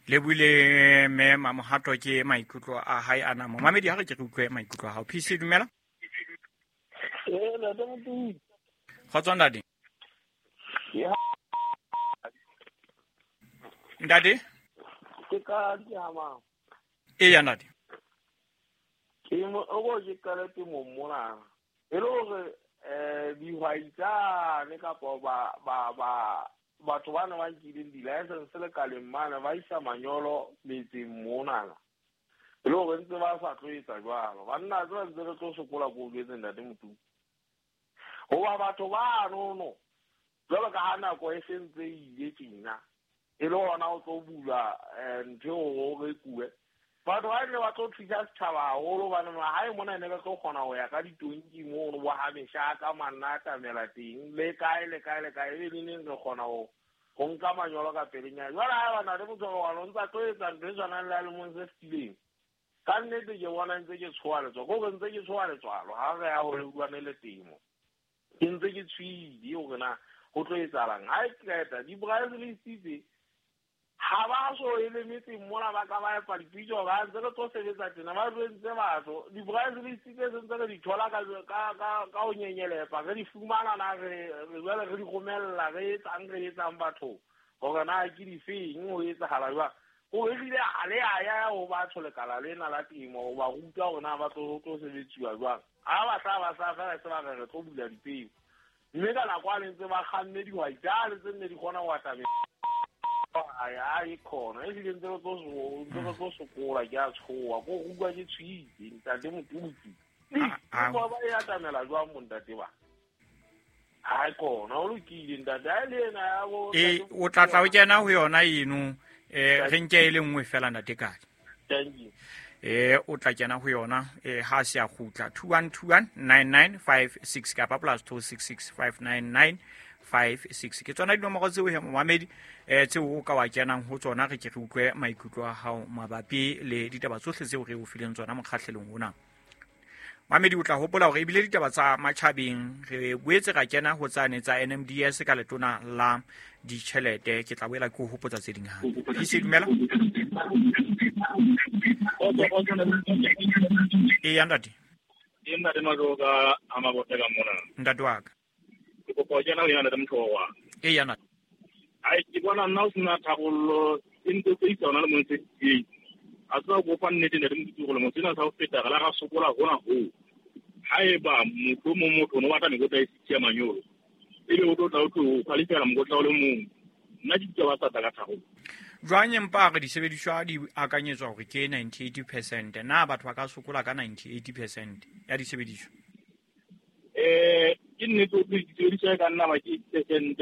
Le buile mme Mamohato ke maikutlo a hae ana. Momamedi, ha re ke re utlwe maikutlo a hao. PC, dumela. Ee, ntate Motumi. Kgotso ntate. Ntate? Ke ka ke hamang. Eya ntate. Ke mo o go ke qale temong mona. E le hore dihwai tsane kapa ba ba ba batho ba ne ba nkileng di-license lekaleng mane ba isa manyolo metseng monana. E le hore ntse ba sa tlo etsa jwalo. Banna tseba ntse re tlo sokola ko jwetseng ntate Motumi. Hoba batho ba nono jwalo ka ha nako e sentse e ile tjena. E le hona o tlo bula ntho eo o rekuwe. Batho ba ne ba tlo thusa setjhaba haholo hobane mahae mona ne re tlo kgona ho ya ka ditonki mono bo ha meshaka manna a tamela teng le kae le kae le kae ebe neneng re kgona ho nka manyolo ka pelenyana. Jwale ha eba ntate Motshwaro o ntsa tlo etsa ntho e tshwanang le ya lemong se fetileng. Ka nnete ke bona ntse ke tshoha letswalo, ko re ntse ke tshoha letswalo ha re ya ho utlwane le temo. Ke ntse ke tshohile hore na ho tlo etsahalang. Ha e qeta di-price list tse ha ba so e le metseng mona ba ka ba epa dipitso ba ntse re tlo sebetsa tena ba jwentse batho di-price list tse sentse re di thola ka ho nyenyelepa re di fumana na re jwale re di romella re etsang batho hore na ke difeng ho etsahala jwang. Ho ehlile ha le a ya ho batho lekala lena la temo ho ba ruta hore na ba tlo sebetsiwa jwang. Ha ba tla ba sa fela se ba re re tlo bula dipeo. Mme ka nako a ntse ba kganne dihwai tsane tse nne di kgona ho atamela. Ai khona ehlile ntse re tlo sokola ke a tshoha ko utlwa ke tshohile ntate Motutsi. Ba e atamela jwang mo ntate ba? Ha khona o lokile ntate ha le ena ya bo o tla tla o kena ho yona eno re nke e le nngwe fela ntate Kadi. Thank you. O tla kena ho yona ha se a kgutla 21219956 kapa +266 59956 ke tsona dinomoro tseo he momamedi tseo o ka wa kenang ho tsona re ke re utlwe maikutlo a hao mabapi le ditaba tsohle tseo re o fileng tsona mokgahlelong ona. Mamedi o tla hopola hore ebile ditaba tsa matjhabeng re boetse ra kena ho tsane tsa NMDS ka letona la ditjhelete. Ke tla boela ke ho hopotsa tse ding hape. PC, dumela. Eya ntate. Ke ntate Majoka a Mabothe ka mona. Ntate wa ka. Ke kopa ho kena ho yena ntate Mothowa. Eya ntate. Ai ke bona nna o sena tharollo e ntse tse isa hona le mong se teng. A tseba go fa nnete ntate Motho gore motho ena sa ho feta re la ra sokola hona ho. Haeba motho mo motho no batla mekotla e sitsi ya manyolo. Ebe o tlo tla o tlo qualify mokotla o le mong. Nna ke ditaba tsa ka tharollo. Jwang empa re disebediswa di akanyetswa hore ke 98%. Na batho ba ka sokola ka 98% ya disebediswa? Ke nnete o disebediswa e ka nna ba ke percent.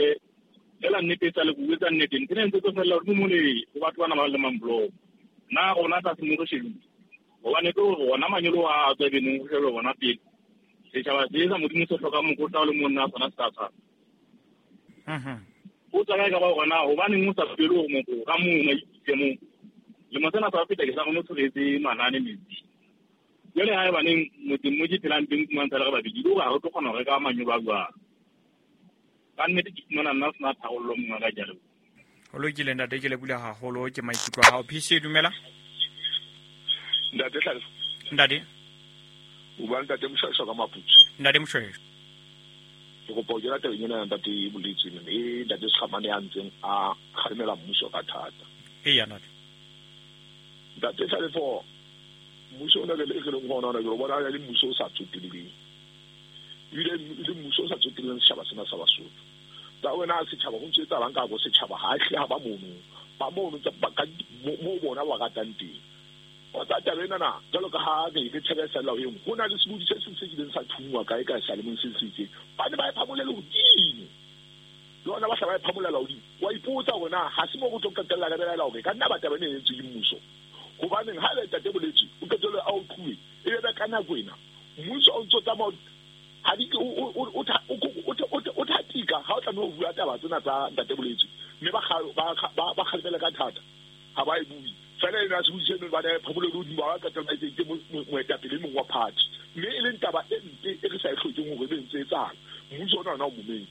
Fela nnete e sa le bua tsa nnete. Ntho ena ntse tlo fella hodimo mole ho batho bana ba lemang block. Na rona tlase mo re shebile. Hobane ke hore rona manyolo a tswa beneng ho shebe bona pele. Setjhaba se sa Modimo se hloka mokotla o le monna sona se ka tshwana. O tswa kae ka ba hore na hobaneng o sa pele hore motho ka mong a itse mong. Lemo sena sa feta ke sa kgone ho tshweretse manane metsi. Jwale ha ebaneng motseng mo ke phelang teng fumantsha le re babedi, le hore ha re tlo kgona ho reka manyolo a jwang. Ka nnete ke fumana nna sena tharollo monga ka jalo. Ho lokile ntate, ke lebohile haholo ke maikutlo a hao. PC, dumela. Ntate Tlhalefo. Ntate. O bua ntate Moshweshwe ka Maputsu. Ntate Moshweshwe. Ke kopa ho kena tabeng ena ya ntate Boletswe e ntate Sekgamane ya ntseng a kgalemela mmuso ka thata. Eya ntate. Ntate Tlhalefo, mmuso ona le re leng ho ona ke bona le mmuso o sa tsoteleng. Ebile le mmuso o sa tsoteleng setjhaba sena sa Basotho. Tsa wena setjhaba ho ntse etsahalang ka bo setjhaba ha hle ha ba mono. Ba mono tsa ba ka mo bona ba ratang teng. O tsa taba ena na jwalo ka ha re re thebesela ho eng ho na le sebodi se seng se kileng sa thungwa kae kae sa lemong se se itseng. Ba ne ba e phamolele hodimo. Le hona ba hla ba e phamolela hodimo. Wa ipotsa hore na ha se mo re tlo qetella re belaela hore ka nna ba taba ena e entswe ke mmuso. Hobaneng ha le ntate Boletswe o qetelle a o qhuwe e be ka nako ena mmuso o ntso tsamaya ha di o thatika ha o tlameha ho bua taba tsena tsa ntate Boletswe mme ba kgalemele ka thata ha ba e bue. Fela ena sebodi seno ba ne phamolele hodimo ba qetella ba etseng ke moetapele e mong wa party. Mme e leng taba e mpe e re sa e hlokeng hore e be ntse etsahala. Mmuso ona ona o mometse.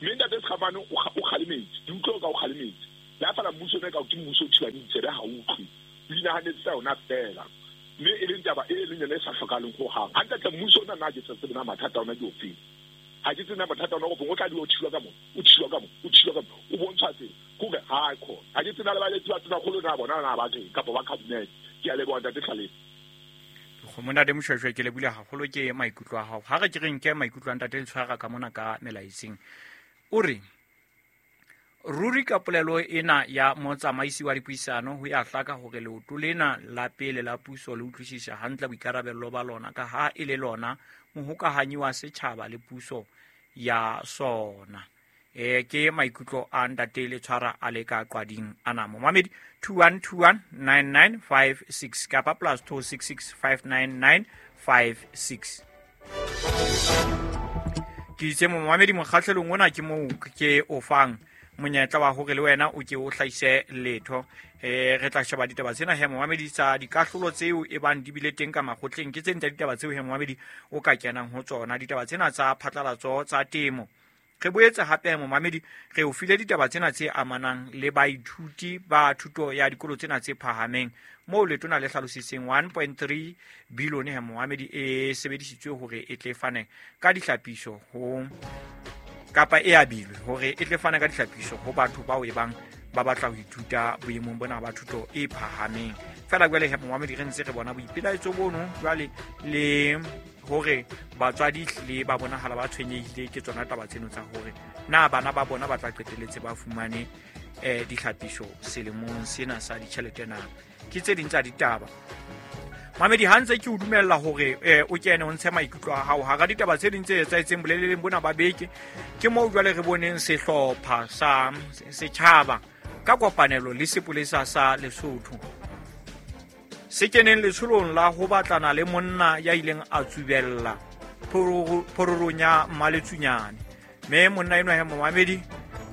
Mme ntate Sekgamane o kgalemetse. Ke utlwe ka o kgalemetse. Le ha fela mmuso ona ka ke mmuso o thibang ditsebe ha o utlwe. O inahanetse tsa yona fela. Mme e leng taba e leng yona e sa hlokahaleng hohang. Hantle mmuso ona nna ha ke sa tsebe na mathata ona ke ofeng. Ha ke tsebe na mathata ona o tla dula o thilwa ka mona, o thilwa ka mona, o thilwa ka mona, o bontshwa tsela. Kore ha khona. Ha ke tsebe na le baeletsi ba Tonakgolo na bona na ba reng kapa ba cabinet. Ke a leboha Ntate Tlhalefe. Ntate Moshweshwe, ke lebohile haholo ke maikutlo a hao. Ha re ke re nke maikutlo a Ntate Letshwara ka mona ka melaetseng. O re ruri ka polelo ena ya motsamaisi wa dipuisano ho ya hlaka hore leoto lena la pele la puso le utlwisisa hantle boikarabello ba lona ka ha e le lona mohokahanyi wa setjhaba le puso ya sona. Ke maikutlo a Ntate Letshwara a le ka qwading ana. Momamedi 21219956 kapa plus 26659956. Ke itse momamedi mokgahlelong ona ke moo ke o fang monyetla wa hore le wena o ke o hlahise letho. Re tla sheba ditaba tsena he momamedi tsa dikahlolo tseo e bang di bile teng ka makgotleng. Ke tse ding tsa ditaba tseo he momamedi o ka kenang ho tsona, ditaba tsena tsa phatlalatso tsa temo. Re boetse hape momamedi re o file ditaba tsena tse amanang le baithuti ba thuto ya dikolo tsena tse phahameng, moo letona le hlalositseng 1.3 billion he momamedi e sebedisitswe hore e tle fane ka dihlapiso ho kapa e abilwe hore e tle fane ka dihlapiso ho batho bao e bang ba batla ho ithuta boemong bona ba thuto e phahameng. Fela jwale he momamedi re ntse re bona boipelaetso bono jwale le hore batswadi le ba bonahala ba tshwenyehile ke tsona taba tseno tsa hore na bana ba bona ba tla qetelletse ba fumane dihlapiso selemong sena sa ditjhelete na. Ke tse ding tsa ditaba. Mamedi, ha ntse ke o dumella hore o kene o ntshe maikutlo a hao hara ditaba tse ding tse etsahetseng boleleleng bona ba beke, ke moo jwale re boneng sehlopha sa setjhaba ka kopanelo le sepolesa sa Lesotho se keneng letsholong la ho batlana le monna ya ileng a tsubella phororong ya Mmaletsunyane. Mme monna enwa he momamedi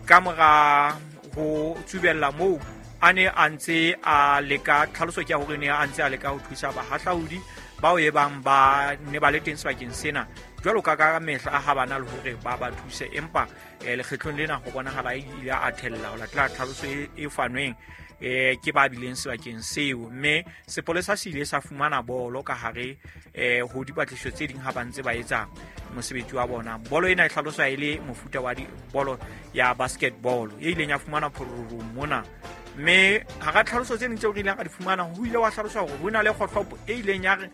ka mora ho tsubella moo a ne a ntse a leka, tlhaloso ke ya hore ne a ntse a leka ho thusa bahahlaudi bao e bang ba ne ba le teng sebakeng sena jwalo ka ka mehla ha bana le hore ba ba thuse, empa lekgetlong lena ho bonahala a ile a thella ho latela tlhaloso e fanweng ke ba bileng sebakeng seo. Mme sepolesa se ile sa fumana bolo ka hare ho dipatlisiso tse ding ha ba ntse ba etsa mosebetsi wa bona. Bolo ena e hlaloswa e le mofuta wa bolo ya basketball e ileng ya fumana phororong mona. Mme hara tlhaloso tse ding tseo re ileng ra di fumana, ho ile wa hlaloswa hore ho na le kgohlopo e ileng ya re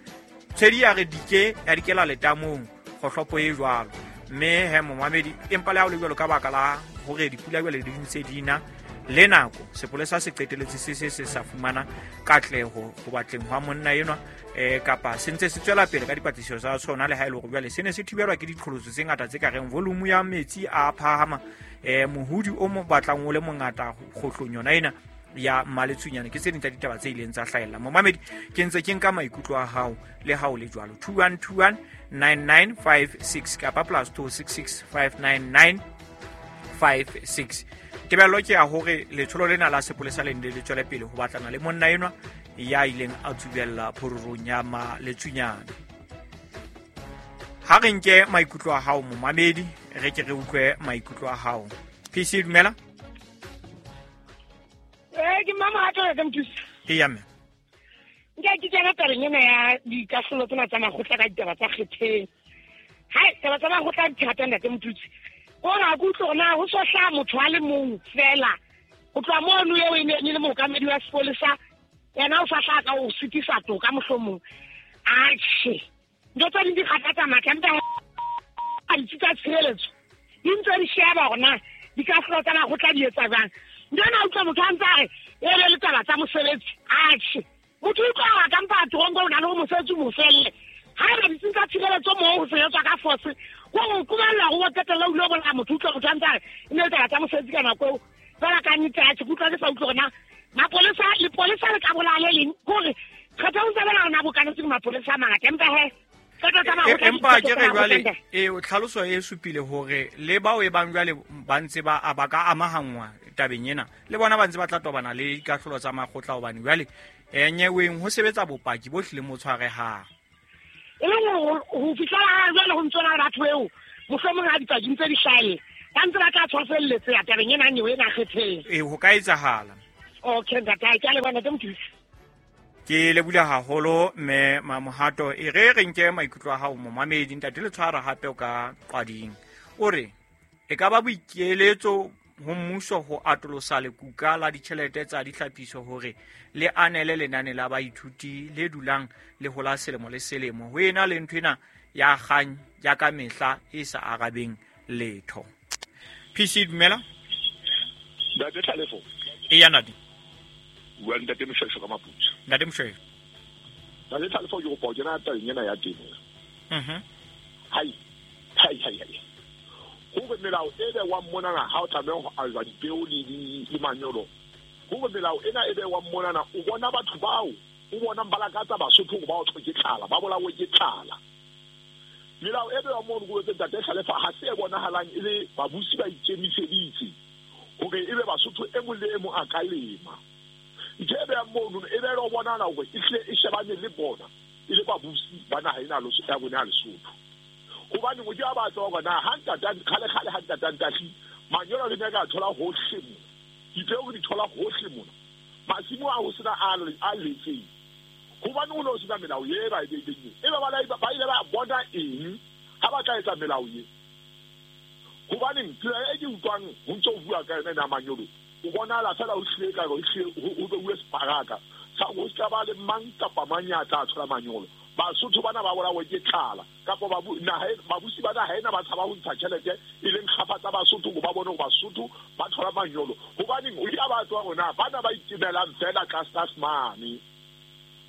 tshwedi ya re dike ya dikela letamong, kgohlopo e jwalo. Mme he momamedi, empa le ha ho le jwalo ka baka la hore dipula jwale di ntse di na le nako, sepolesa se qetelletse se sa fumana katleho ho batleng hwa monna enwa, kapa se ntse se tswela pele ka dipatlisiso tsa sona, le ha e le hore jwale se ne se thibelwa ke diqholotso tse ngata tse ka reng volume ya metsi a phahama, mohodi o mo batlang o le mongata kgohlong yona ena ya Mmaletsunyane. Ke tse ding tsa ditaba tse ileng tsa hlahella. Momamedi, ke ntse ke nka maikutlo a hao le ha o le jwalo. 21219956 kapa plus 26659956. Tebello ke ya hore letsholo lena la sepolesa le ne le tswele pele ho batlana le monna enwa ya ileng a tsubella phororong ya Mmaletsunyane. Ha re nke maikutlo a hao momamedi, re ke re utlwe maikutlo a hao. PC, dumela. Ke mama ha tla ka mothusi. Eya mme. Nka ke tsena tabeng ena ya dikahlolo tsena tsa makgotla ka ditaba tsa kgetheng. Hai, taba tsa makgotla di thata ntate mothusi. Kore ha ke utlwe hore na ho so hlaha motho a le mong fela. Ho tloha mono eo e ne e le mookamedi wa sepolesa, yena o sa hlaha ka ho sitisa toka mohlomong. Atjhe, ntho tse ding di kgathatsa matla, empa ha ditsi tsa tshireletso di ntse di sheba hore na dikahlolo tsa makgotla di etsa jwang. Ntho ena utlwa motho a ntse a re e le taba tsa mosebetsi. Atjhe, motho o utlwa hore ka mpa toronko o na le hore mosebetsi o mo felle. Haeba ditsing tsa tshireletso moo ho sebetswa ka force, ko qobella hore o qetelle o ilo bolaya motho, utlwa motho a ntse a re e ne le taba tsa mosebetsi ka nako eo. Fela ka nnete atjhe, ke utlwa ke sa utlwe hore na mapolesa, lepolesa le ka bolaya le leng. Ke hore kgetho o ntse bona hore na bokanetse ke mapolesa a mangata, empa he Empa ke re jwale tlhaloso e supile hore le bao e bang jwale ba ntse ba ba ka amahangwa tabeng ena, le bona ba ntse ba tla tobana le dikahlolo tsa makgotla, hobane jwale nyeweng ho sebetsa bopaki bo hlileng bo tshwarehang. E leng ho fihlela ha jwale ho ntso na le batho eo mohlomong ha dipaki ntse di hlahella. Ba ntse ba tla tshwaselletseya tabeng ena nyewe ena kgetheng. E ho ka etsahala. Okay ntate, ke a leboha ntate Mothusi. Ke lebula haholo mme Mamohato, e re re nke maikutlo a hao momamedi. Ntate le tshwara hape o ka qwading. O re e ka ba boikeletso ho mmuso ho atolosa lekuka la ditjhelete tsa ditlhapiso hore le anele lenane la baithuti le dulang le hola selemo le selemo, ho ena le ntho ena ya kgang ya ka mehla e sa arabeng letho. PC dumela. Ntate Tlhalefo. Eya ntate. Bua le ntate Moshweshwe ka Maputsu. Ntate Moshweshwe. Ntate Tlhalefo, ke kopa ho kena tabeng ena ya temo. Hai, hai, hai, hai. Hore melao e bewang monana ha o tlameha ho ajwa dipeo le manyolo. Hore melao ena e bewang monana, o bona batho bao, o bona ba lakatsa Basotho hore ba otlwe ke tlala, ba bolawe ke tlala. Melao e bewang mono ko ntate Tlhalefa ha se e bonahalang e le babusi ba ikemiseditse hore ebe Basotho e mong le e mong a ka lema. Ntho e behang mono e be le bonahala hore e hle e shebane le bona e le babusi ba naha ena ya rona ya Lesotho. Hobane o ke a batla hore na ha ntata kgale ha ntata Ntahli manyolo re ne ka thola hohle mona, dipeo re di thola hohle mona, masimo a ho sena a letseng. Hobane ho ne ho sena melao e ba e beileng e ba ile ba bona eng ha ba tla etsa melao e? Hobaneng tsela e ke utlwang ho ntso ho bua ka yona ena manyolo, o bonahala fela ho hlile ekare ho hlile ho beuwe separaka sa hore ho ska ba le mang kapa mang ya tla thola manyolo. Basotho bana ba bolawe ke tlala, kapa babusi ba naha ena ba tshaba ho ntsha tjhelete e leng kgafa tsa Basotho hore ba bone hore Basotho ba thola manyolo. Hobaneng o ile a ba tswa hore na bana ba itemelang fela tlase mane,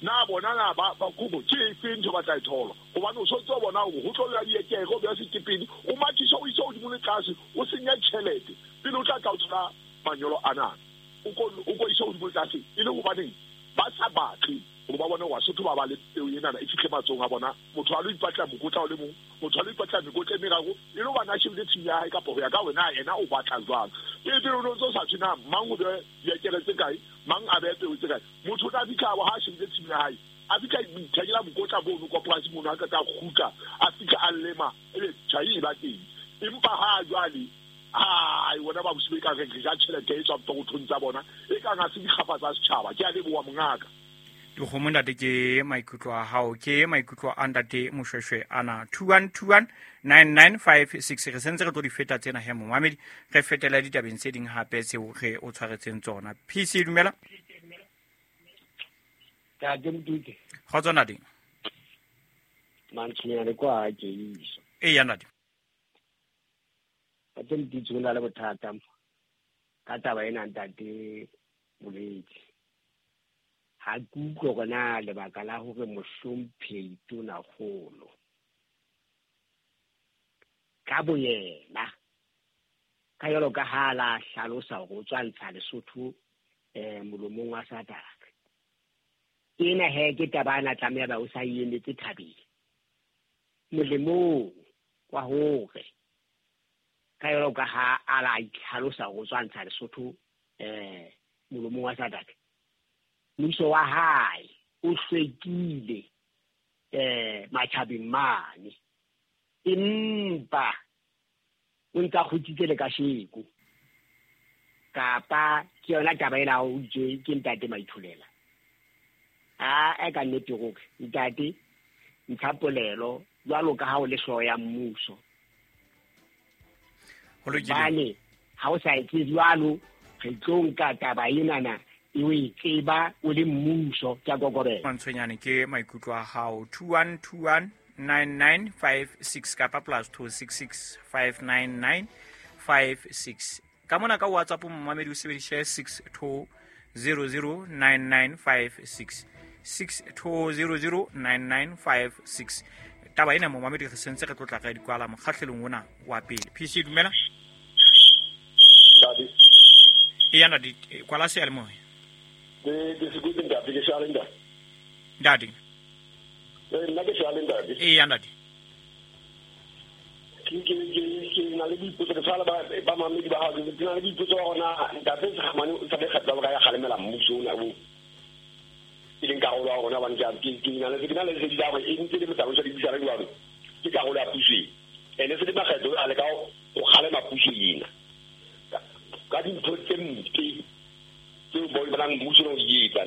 na bona na ba kobo ke efe ntho ba tla e thola? Hobane o so ntso bona hore ho tlo lla diekere, o beha sekepele, o mathisa o isa hodimo le tlase, o senya tjhelete pele o tla tla o thola manyolo ana. O ko isa hodimo le tlase e le hobaneng ba sa batle hore ba bone hore Basotho ba ba le peo enana e fihle matsohong a bona. Motho a lo ipatla mokotla o le mong, motho a lo ipatla mekotla e meraro e le hobane a shebile tshimo ya hae kapa ho ya ka hore na yena o batla jwang. Pele pele o no ntso sa thwe na mang o behe diekere tse kae, mang a behe peo tse kae. Motho o tla fihla ha a shebile tshimo ya hae, a fihla ithekela mokotla mono kwa polasing mono, a qeta a kgutla, a fihla a lema, ebe tjhai e ba teng. Empa ha jwale, ai bona ba busi ba ka re ja tjhelete e tswang pokothong tsa bona, e kang ha se dikgapa tsa setjhaba. Ke a leboha mongaka. Dikgomo ntate, ke maikutlo a hao, ke maikutlo a ntate Moshweshwe ana. 21219956 re sentse re tlo di feta tsena he momamedi, re fetela ditabeng tse ding hape tseo re o tshwaretseng tsona. PC dumela. Ntate Mothusi. Kgotso ntate. Mantswenyane kwa ha ke iso. Eya ntate. Ntate Mothusi, ho na le bothata ka taba ena ntate Boletse. Ha ke utlwe hore na lebaka la hore mohlomphehi Tonakgolo ka boyena ka jwalo ka ha la hlalosa hore o tswa ntsha Lesotho molomong wa Satane. Ena he ke taba ana tlameha ba o sa emetse thabeng molemong wa hore ka jwalo ka ha a la itlhalosa hore o tswa ntsha Lesotho molomong wa Satane. Mmuso wa hae o hlwekile matjhabeng mane, empa o ntsa kgutsitse le kasheko. Kapa ke yona taba ena o itse ke ntate Maitholela. A ka nnete hore ntate ntsha polelo jwalo ka ha o le hlooho ya mmuso. Hobane ha o sa etse jwalo, re tlo nka taba enana e o e tseba o le mmuso. Ke a kokobela. Mantshwenyane ke maikutlo a hao. 21219956 kapa +266 59956. Ka mona ka WhatsApp momamedi o sebedise 62009956, 62009956. Taba ena momamedi re sentse re tlotla ka dikwala mokgahlelong ona wa pele. PC dumela. Ntate. Eya ntate, kwala seyalemoya. Ke sekotse ntate, ke shale ntate. Ntate. Nna ke shale ntate. Eya ntate. Ke na le boipotso, ke tshwara ba mamedi ba hao, ke na le boipotso ba rona ntate Sekgamane o sa le kgetla ba ya kgalemela mmuso ona o e leng karolo ya rona, hobane ke na le lesedi la hore e ntse le motsamaiso wa dibusana jwalo, ke karolo ya puso e. Ene se le makgetlo a leka ho kgalema puso ena ka dintho tse mpe tseo ba bonang mmuso o di etsa.